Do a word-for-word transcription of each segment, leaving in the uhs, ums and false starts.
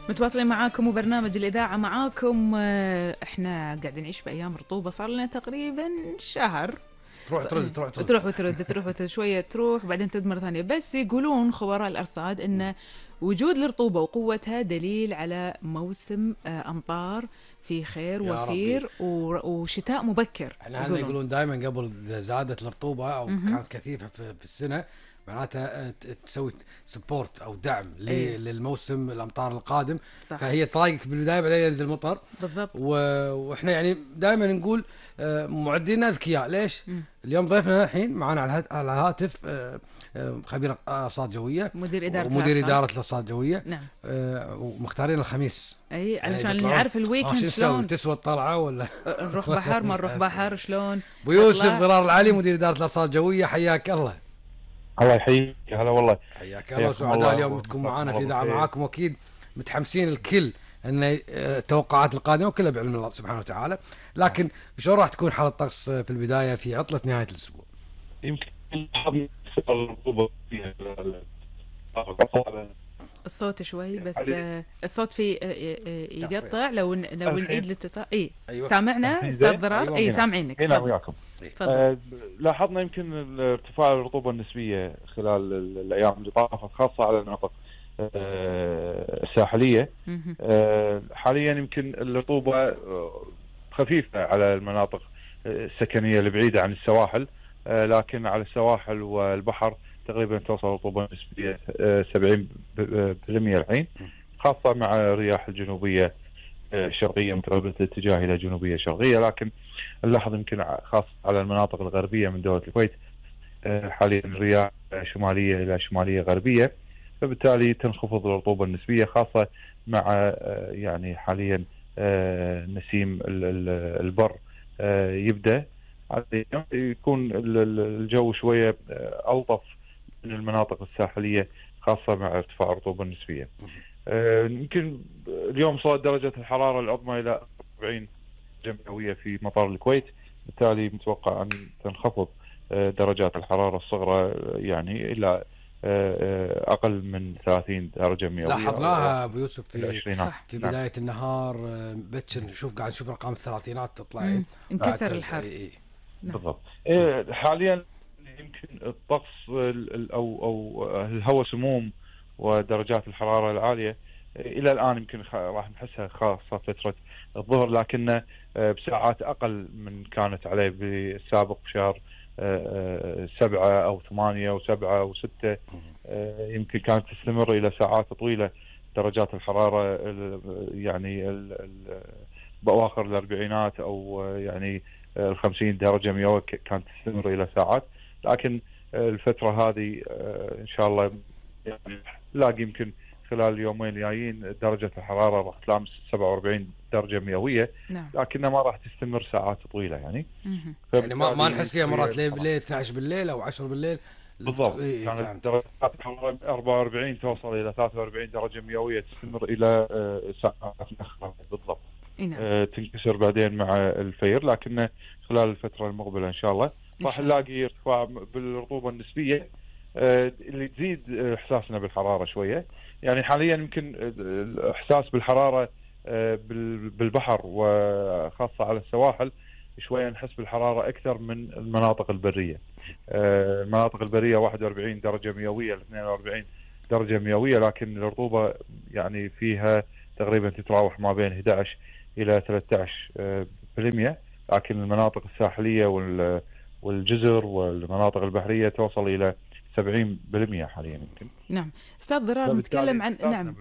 متواصلين معاكم وبرنامج الإذاعة معاكم. احنا قاعدين نعيش بأيام رطوبة صار لنا تقريبا شهر. تروح ترد تروح ترد تروح وترد تروح وترد شوية تروح بعدين ترد مرة ثانية. بس يقولون خبراء الأرصاد إن وجود الرطوبة وقوتها دليل على موسم أمطار في خير وفير وشتاء مبكر. احنا يقولون, يقولون دائما قبل إذا زادت الرطوبة أو م-م. كانت كثيفة في, في السنة معناتها تسوي سبورت أو دعم أيه. للموسم الأمطار القادم صح. فهي تضايقك بالبداية بعدين ينزل مطر بالضبط. وإحنا يعني دائما نقول معدين أذكياء. ليش؟ م. اليوم ضيفنا الحين معنا على الهاتف خبير أرصاد جوية مدير إدارة ومدير إدارة الأرصاد الجوية. نعم. ومختارين الخميس أي علشان نعرف الويكند شلون تسوى الطلعة ولا نروح بحر ما نروح بحر شلون. أبو يوسف ضرار العلي مدير إدارة الأرصاد الجوية حياك الله. الله يحييك. هلا والله حياك الله وسعداء اليوم تكون معنا في إذاعة معاكم وأكيد متحمسين الكل أن التوقعات القادمة وكلها بعلم الله سبحانه وتعالى. لكن شو راح تكون حالة الطقس في البداية في عطلة نهاية الأسبوع؟ يمكن الصوت شوي بس الصوت في يقطع لو لو نعيد الاتصال. اي أيوة. سامعنا استاذ ضرار؟ أيوة. اي سامعينك. نعم وياكم. آه لاحظنا يمكن ارتفاع الرطوبة النسبية خلال الأيام اللي طافت خاصة على المناطق آه الساحلية. آه حاليا يمكن الرطوبة خفيفة على المناطق السكنية البعيدة عن السواحل، آه لكن على السواحل والبحر تقريبا توصل الرطوبة النسبية سبعين بالمئة الحين، خاصة مع الرياح الجنوبية الشرقية متقلبة الاتجاه إلى جنوبية شرقية. لكن نلاحظ يمكن خاصة على المناطق الغربية من دولة الكويت حاليا الرياح شمالية إلى شمالية غربية، فبالتالي تنخفض الرطوبة النسبية خاصة مع يعني حاليا نسيم البر يبدأ يكون الجو شوية ألطف من المناطق الساحلية خاصة مع ارتفاع الرطوبة النسبية. يمكن اليوم صارت درجة الحرارة العظمى إلى أربعين مئوية في مطار الكويت، بالتالي متوقع أن تنخفض درجات الحرارة الصغرى يعني إلى أقل من ثلاثين درجة مئوية. لاحظناها أبو يوسف في, في بداية نعم. النهار بتشن نشوف قاعد نشوف أرقام الثلاثينات تطلع انكسر الحر. إيه. بالضبط. إيه حاليا يمكن الطقس أو أو الهواء سموم ودرجات الحرارة العالية إلى الآن يمكن راح نحسها خاصة فترة الظهر، لكن بساعات أقل من كانت عليه بالسابق بشهر سبعة أو ثمانية وسبعة وستة. يمكن كانت تستمر إلى ساعات طويلة درجات الحرارة يعني بأواخر الأربعينات أو يعني الخمسين درجة مئوية كانت تستمر إلى ساعات. لكن الفترة هذه إن شاء الله يعني لاقي يمكن خلال اليومين الجايين درجة الحرارة راح تلامس سبعة وأربعين درجة مئوية، نعم. لكنها ما راح تستمر ساعات طويلة يعني. يعني ما ما نحس فيها مرات ليه بالليل اثني عشر بالليل أو عشرة بالليل. بالضبط. إيه كانت درجات الحرارة أربعة وأربعين توصل إلى ثلاثة وأربعين درجة مئوية تستمر إلى ساعات بالضبط. نعم. تنكسر بعدين مع الفير، لكن خلال الفترة المقبلة إن شاء الله راح نلاقي ارتفاع بالرطوبة النسبية اللي تزيد إحساسنا بالحرارة شوية. يعني حاليا يمكن الإحساس بالحرارة بالبحر وخاصة على السواحل شوية نحس بالحرارة أكثر من المناطق البرية. المناطق البرية واحد وأربعين درجة مئوية ل اثنين وأربعين درجة مئوية، لكن الرطوبة يعني فيها تقريبا تتراوح ما بين أحد عشر إلى ثلاثة عشر بالمئة. لكن المناطق الساحلية والجزر والمناطق البحرية توصل إلى سبعين بالمئة حاليا يمكن. نعم استاذ ضرار نتكلم عن نعم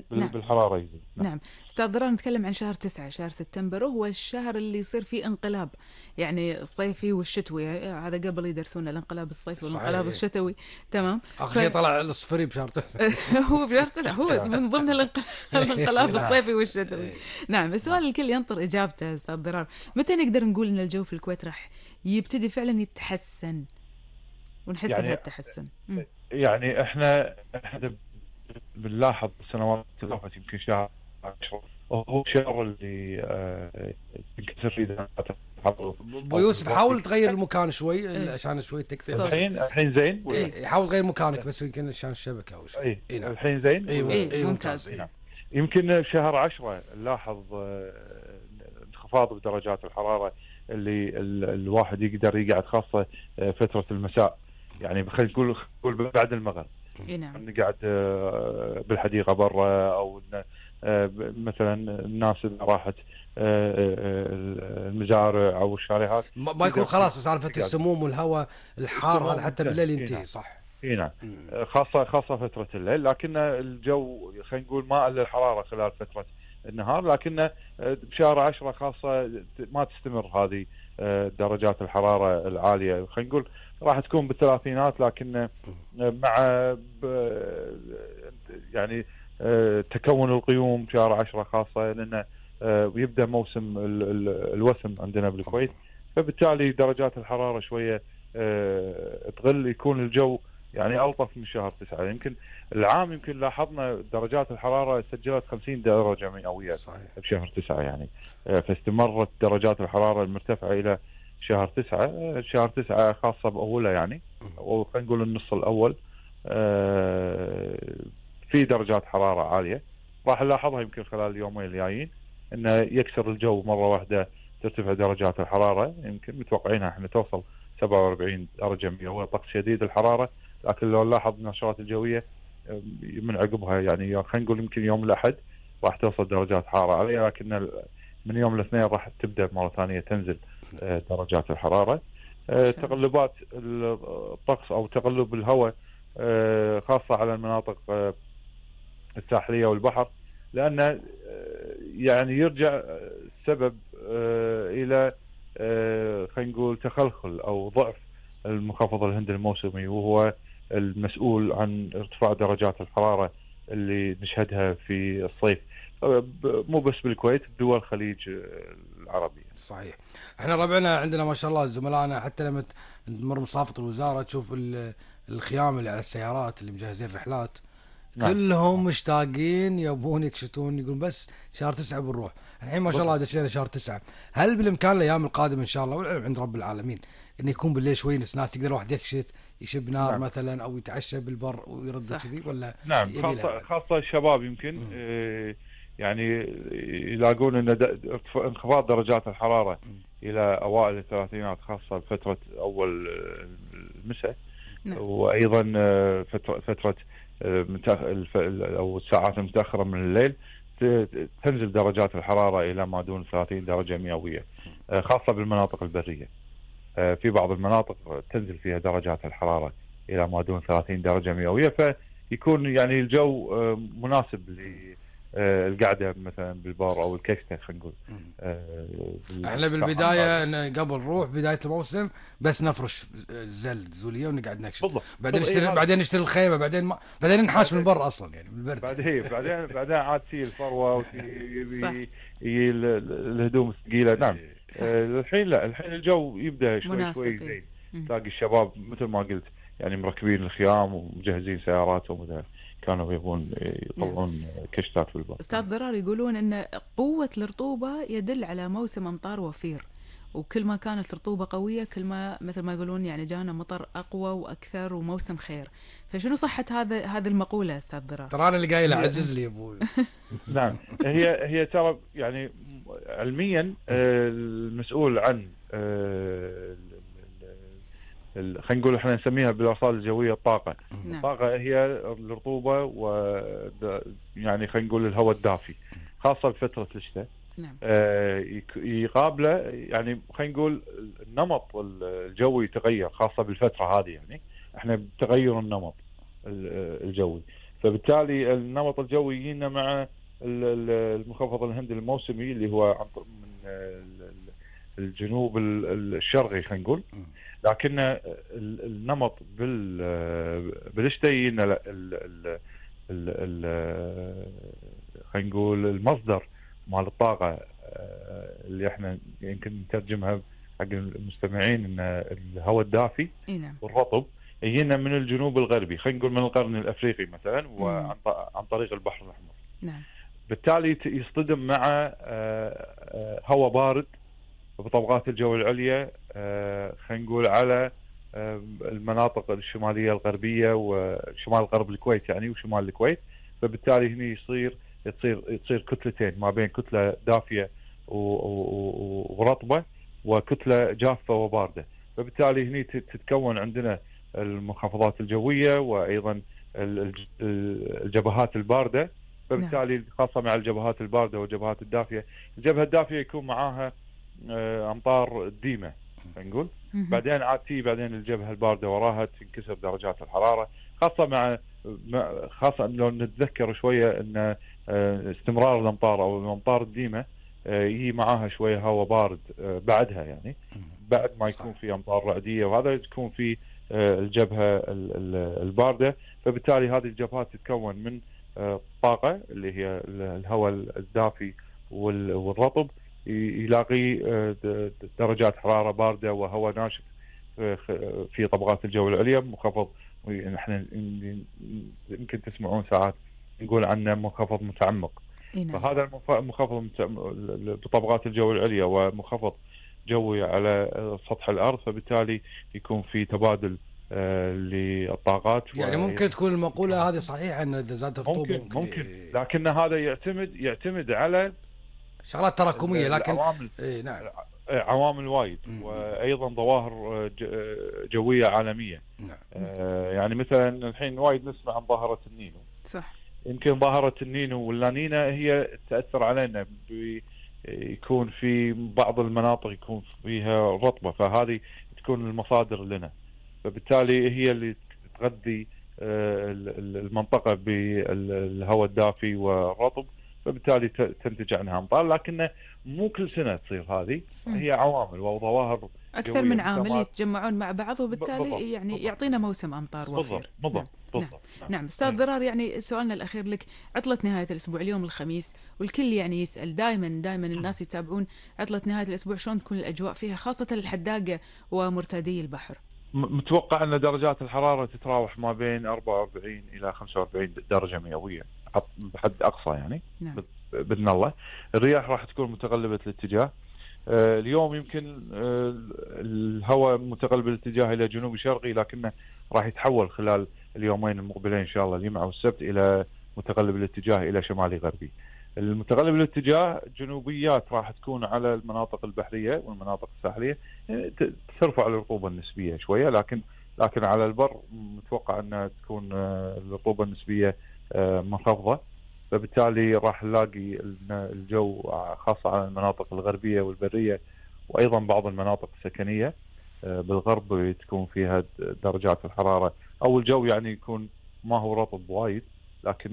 بالحرارة يزيد. نعم. نعم استاذ ضرار نتكلم عن شهر تسعة شهر سبتمبر، وهو الشهر اللي يصير فيه انقلاب يعني الصيفي والشتوي. هذا قبل يدرسون الانقلاب الصيفي والانقلاب الشتوي. تمام. اخر شيء ف... طلع الصفري بشهر تسعة. هو بشهر تسعة هو من ضمن الانقلاب الصيفي والشتوي. نعم. السؤال الكل ينطر اجابته استاذ ضرار، متى نقدر نقول ان الجو في الكويت راح يبتدي فعلا يتحسن ونحس يعني بهالتحسن؟ يعني احنا احنا بنلاحظ السنوات اللي فاتت يمكن شهر عشرة هو الشهر اللي ينكسر فيه درجات الحرارة. ابو يوسف حاول تغير المكان شوي عشان شوي تكتب. الحين الحين زين ولا حاول تغير مكانك بس يمكن عشان الشبكه او شيء. اي الحين زين. اي ممتاز. يمكن شهر عشرة نلاحظ انخفاض بدرجات الحرارة اللي الواحد يقدر يقعد، خاصة فترة المساء، يعني خلينا نقول نقول بعد المغرب. نعم. نقعد بالحديقة برا، أو مثلا الناس اللي راحت المزارع أو الشاليهات ما يكون خلاص سالفة السموم والهواء الحار هذا حتى بالليل ينتهي. صح. اي نعم. خاصة خاصة فترة الليل، لكن الجو خلينا نقول ما قل الحرارة خلال فترة النهار، لكن بشهر عشرة خاصة ما تستمر هذه درجات الحرارة العالية. خلينا نقول راح تكون بالثلاثينات، لكن مع يعني تكون الغيوم شهر عشرة خاصة، لأنه يبدأ موسم الوسم عندنا بالكويت، فبالتالي درجات الحرارة شوية تقل، يكون الجو يعني ألطف من شهر تسعة. يمكن العام يمكن لاحظنا درجات الحرارة سجلت خمسين درجة مئوية بشهر تسعة يعني، فاستمرت درجات الحرارة المرتفعة إلى شهر تسعة. شهر تسعة خاصة بأوله يعني، وخلينا نقول النص الأول في درجات حرارة عالية راح نلاحظها يمكن خلال اليومين الجايين، إنه يكسر الجو مرة واحدة، ترتفع درجات الحرارة. يمكن متوقعينها احنا توصل سبعة وأربعين درجة مئوية، طقس شديد الحرارة. لكن لو نلاحظ النشرات الجوية من عقبها يعني، خلينا نقول يمكن يوم الأحد راح توصل درجات حرارة عالية، لكن من يوم الاثنين راح تبدأ مرة ثانية تنزل درجات الحرارة. تقلبات الطقس أو تقلب الهواء خاصة على المناطق الساحلية والبحر، لأن يعني يرجع السبب إلى خلينا نقول تخلخل أو ضعف المنخفض الهندي الموسمي، وهو المسؤول عن ارتفاع درجات الحرارة اللي نشهدها في الصيف، مو بس بالكويت، دول الخليج العربية. صحيح. احنا ربعنا عندنا ما شاء الله زملائنا، حتى لما تمر مصافة الوزارة تشوف الخيام اللي على السيارات اللي مجهزين رحلات، نعم. كلهم مشتاقين يبون يكشتون، يقولون بس شهر تسعة بنروح. الحين ما شاء الله دشينا شهر تسعة. هل بالإمكان الأيام القادمة إن شاء الله والعلم عند رب العالمين إنه يكون بالليل شوي ناس يقدر واحد يكشت يشب نار، نعم. مثلا أو يتعشى بالبر ويرد كذي، ولا نعم خاصة, خاصة الشباب يمكن اه يعني يلاقون إن انخفاض درجات الحرارة م. إلى أوائل الثلاثينات، خاصة فترة أول المساء، نعم. وأيضا فترة فترة أو الساعات المتأخرة من الليل تنزل درجات الحرارة إلى ما دون ثلاثين درجة مئوية، خاصة بالمناطق البرية. في بعض المناطق تنزل فيها درجات الحرارة إلى ما دون ثلاثين درجة مئوية، فيكون يعني الجو مناسب للقعدة مثلا بالبار أو الكشتة. خلينا نقول احنا بالبداية قبل نروح بداية الموسم بس نفرش زل زولية ونقعد نكشف، بعدين نشتري بعدين نشتري الخيمة، بعدين ما بعدين ننحاش من برا أصلا يعني من البرد. بعدين بعدين بعدين عاد تي الفروة وتي الهدوم الثقيلة. نعم. الحين لا، الحين الجو يبدأ شوي شوي زين، تلاقي الشباب مثل ما قلت يعني مركبين الخيام ومجهزين سياراتهم وذا، كانوا يبون يطلعون كشتات في البر. أستاذ ضرار يقولون أن قوة الرطوبة يدل على موسم أمطار وفير، وكل ما كانت الرطوبة قوية كل ما مثل ما يقولون يعني جانا مطر أقوى وأكثر وموسم خير. فشنو صحة هذا هذه المقولة أستاذ ضرار؟ ترى أنا اللي قايله عزز لي أبوي. نعم، هي هي ترى يعني علميا المسؤول عن خلينا نقول احنا نسميها بالارصاد الجويه الطاقه. نعم. الطاقه هي الرطوبه و يعني خلينا نقول الهواء الدافي، خاصه بفتره الشتاء. نعم. آه يقابله يعني خلينا نقول النمط الجوي يتغير، خاصه بالفتره هذه يعني احنا بتغير النمط الجوي، فبالتالي النمط الجوي يجينا مع المنخفض الهندي الموسمي اللي هو من الجنوب الشرقي خلينا نقول، لكن النمط بالشتاء يجينا خلينا نقول المصدر مال الطاقه اللي احنا يمكن نترجمها حق المستمعين ان الهواء الدافي والرطب يجينا من الجنوب الغربي، خلينا نقول من القرن الافريقي مثلا، وعن عن طريق البحر الاحمر. نعم. بالتالي يصطدم مع هواء بارد بطبقات الجو العليا خلينا نقول على المناطق الشماليه الغربيه وشمال غرب الكويت يعني وشمال الكويت، فبالتالي هنا يصير تصير تصير كتلتين ما بين كتلة دافية ورطبة وكتلة جافة وباردة. فبالتالي هني تتكون عندنا المنخفضات الجوية وأيضا الجبهات الباردة. فبالتالي خاصة مع الجبهات الباردة والجبهات الدافية، الجبهة الدافية يكون معاها أمطار ديمة نقول، بعدين عاد تي بعدين الجبهة الباردة وراها تنكسر درجات الحرارة، خاصة مع خاصة لو نتذكر شوية أن استمرار الأمطار أو الأمطار الديمة يجي معاها شوية هواء بارد بعدها، يعني بعد ما يكون في أمطار رعدية، وهذا تكون في الجبهة الباردة. فبالتالي هذه الجبهات تتكون من طاقة اللي هي الهواء الدافي والرطب، يلاقي درجات حرارة باردة وهواء ناشف في طبقات الجو العليا منخفض، نحن يمكن تسمعون ساعات نقول عنه منخفض متعمق. فهذا المنخفض بطبقات الجو العليا ومنخفض جوي على سطح الأرض، فبالتالي يكون في تبادل آه للطاقات. يعني ممكن تكون المقولة هذه صحيحة أن إذا زادت الرطوبة ممكن, ممكن لكن هذا يعتمد يعتمد على شغلات تراكمية، لكن عوامل إيه نعم عوامل وايد، وأيضا ظواهر جوية عالمية. نعم. آه يعني مثلا الحين وايد نسمع عن ظاهرة النينو. صح. يمكن ظاهرة النينو واللانينا هي تأثر علينا، يكون في بعض المناطق يكون فيها رطبة، فهذه تكون المصادر لنا، فبالتالي هي اللي تغذي المنطقة بالهواء الدافي والرطب، فبالتالي تنتج عنها أمطار. لكن مو كل سنة تصير هذه، هي عوامل وظواهر أكثر من عامل يتجمعون مع بعض، وبالتالي بالضبط. يعني بالضبط. يعطينا موسم أمطار وفير. بالضبط بالضبط. نعم. نعم. نعم. أستاذ ضرار، يعني سؤالنا الأخير لك، عطلة نهاية الأسبوع اليوم الخميس، والكل يعني يسأل دائما دائما الناس يتابعون عطلة نهاية الأسبوع، شلون تكون الأجواء فيها خاصة الحداقة ومرتادي البحر؟ متوقع أن درجات الحرارة تتراوح ما بين أربعة وأربعين إلى خمسة وأربعين درجة مئوية بحد أقصى يعني. نعم. بإذن الله. الرياح راح تكون متقلبة الاتجاه. آه اليوم يمكن آه الهواء متقلب الاتجاه إلى جنوب شرقي، لكنه راح يتحول خلال اليومين المقبلين إن شاء الله الجمعة والسبت إلى متقلب الاتجاه إلى شمالي غربي. المتقلب الاتجاه جنوبيات راح تكون على المناطق البحرية والمناطق الساحلية، يعني ترفع الرطوبة النسبية شوية، لكن لكن على البر متوقع أنها تكون آه الرطوبة النسبية آه منخفضة. فبالتالي راح نلاقي الجو خاصة على المناطق الغربية والبرية، وأيضا بعض المناطق السكنية بالغرب تكون فيها درجات الحرارة أو الجو يعني يكون ما هو رطب وايد، لكن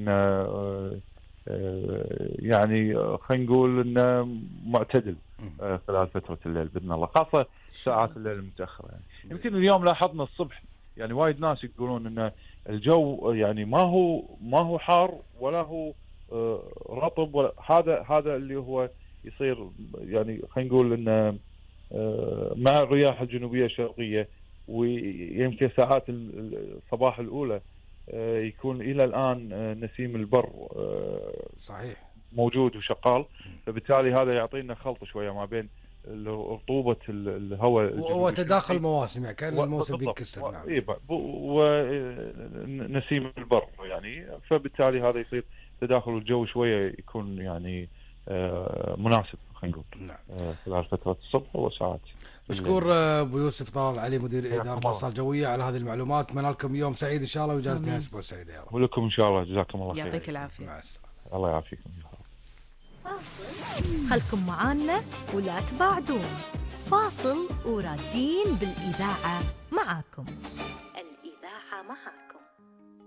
يعني خلينا نقول إنه معتدل خلال فترة الليل بإذن الله، خاصة ساعات الليل المتأخرة. يعني يمكن اليوم لاحظنا الصبح يعني وايد ناس يقولون إن الجو يعني ما هو ما هو حار ولا هو رطب، ولا هذا هذا اللي هو يصير يعني خلينا نقول إن مع الرياح الجنوبية الشرقية، ويمكن ساعات الصباح الأولى يكون إلى الآن نسيم البر صحيح موجود وشغال، فبالتالي هذا يعطينا خلط شوية ما بين رطوبة الهواء وتداخل مواسم، يعني كان الموسم بينكسر. نعم. ونسيم البر يعني، فبالتالي هذا يصير تداخل الجو شوية يكون يعني مناسب خلينا نقول. نعم. خلال فترة الصبح وساعات. مشكور أبو يوسف ضلال علي مدير إدارة الأرصاد الجوية على هذه المعلومات. أتمنى لكم يوم سعيد إن شاء الله وإجازة نهاية أسبوع سعيدة يا رب. ولكم إن شاء الله، جزاكم الله خير. يعطيك العافية. مع السلامة. الله يعافيكم. خلكم معانا ولا تبعدون، فاصل ورادين بالإذاعة معاكم. الإذاعة معاكم.